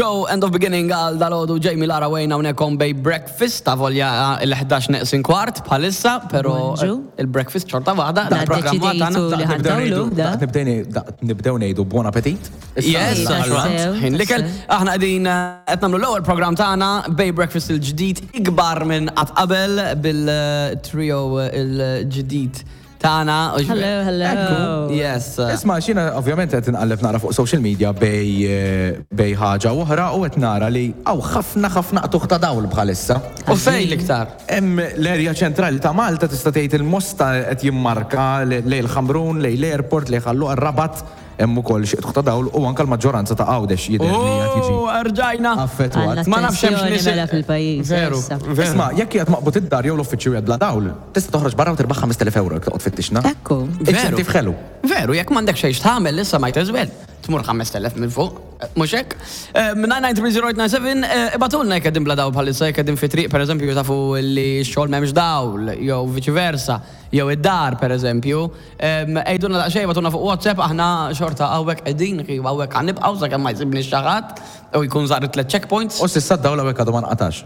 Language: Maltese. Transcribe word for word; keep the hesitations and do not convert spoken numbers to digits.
Show End of Beginning għal dalgħodu. Jamie, Lara, Wayne hawnhekk on Bay Breakfast ta' volja il-ħdax neqsin kwart bħalissa, pero Bonġu. il-breakfast xorta waħda. Da il-programm tagħna. Deċidejtu li Nibdew ħa ntawlu, ngħidu- da? Daqt nibdew ngħidu- daqt nibdew ngħidu buon appetit. Yes, Tassew, alright. Ħin l-ikel, aħna qegħdin eh, qed nagħmlu l-ewwel programm tagħna Bay Breakfast il-ġdid, ikbar minn qatt qabel, bil-trio il-ġdid tagħna. Hello, hello. Yes. Isma', xina ovvjament qed inqalleb nara fuq social media bej eh, bej ħaġa oħra u qed nara li hawn ħafna ħafna qtugħ ta' dawl bħalissa. U fej l-iktar? Hemm l-erja ċentrali ta' Malta, tista' tgħid il-Mosta qed jimmarka lejn il-Ħamrun, lejn l-airport, lejn Ħal Luqa, Rabat hemm ukoll xi qtugħ ta' dawl u anke l-maġġoranza ta' Għawdex jidher li qed jiġi Oh, rġajna. affettwat. Għandna Ma nafx hemmx tensjoni nies- mela fil-pajjiż. Veru, Issa. veru. Isma', jekk qiegħed maqbud id-dar jew l-uffiċċju qiegħed bla dawl, tista' toħroġ barra u tirbaħ ħamest elef euro jekk toqgħod fittixna. Ekku. Inċentiv ħelu. Veru, jekk m'għandek xejn tagħmel issa might as well. Tmur ħamest elef minn fuq, mhux hekk? nine nine three zero eight nine seven, ibagħtulna jekk qegħdin bla dawl bħalissa, jekk qegħdin fi triq, pereżempju, tafu li x-xogħol m'hemmx dawl, jew viċi versa, jew id-dar, pereżempju. Għidulna daqsxejn, ibagħtulna fuq WhatsApp, aħna xorta hawnhekk qegħdin, hawnhekk ħa nibqgħu sakemm ma jsibni xi ħadd u jkun żar tliet checkpoints. U s'issa d-dawl hawnhekk għadu ma nqatax.